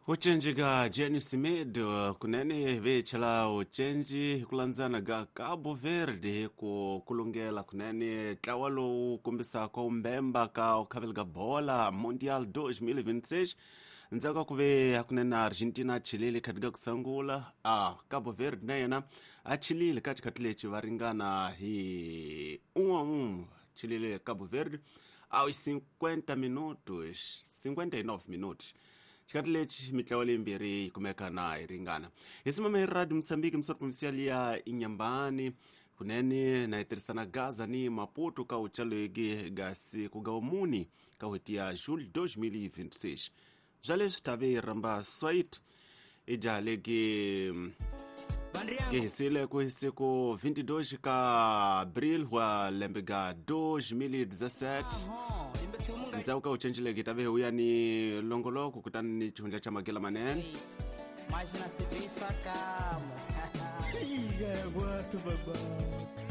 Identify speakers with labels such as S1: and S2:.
S1: Ucenji ka Jenny Semedo kunene vechela ucenji hi ku landzana ka Cabo Verde ku kulungela kunene ntlawa lowu kombisaka umbemba ka ukhaveli ka bola Mundial 2026 ndzhaku ka ku ve hakunene Argentina a chilile khati ka ku sungula a Cabo Verde na yena a chilile ka xikhathi lexi va ringana hi un'we un'we chilile Cabo Verde aos 50 minutos 59 minutos. Xikati lexi mitlawa leyimbirhi yi kumeka na yi ringana. Hi simama hi Radio Mozambique, misoro provincial ya Inhambane, kunene na yi tirhisana Gaza ni Maputo ka uchalegi ga siku ga umuni ka n'hweti ya Julho 2026. Bya leswi tave yi rhamba Soit i jaha legi ke hisile ku siku 22 ka Abril wa lembe ga 2017. Ndzhaku ka ucenjileke tave uya ni longoloko kutani ni xihundla xa magela manene.
S2: Mas na serviço acalmo.
S3: Ih, é, baba.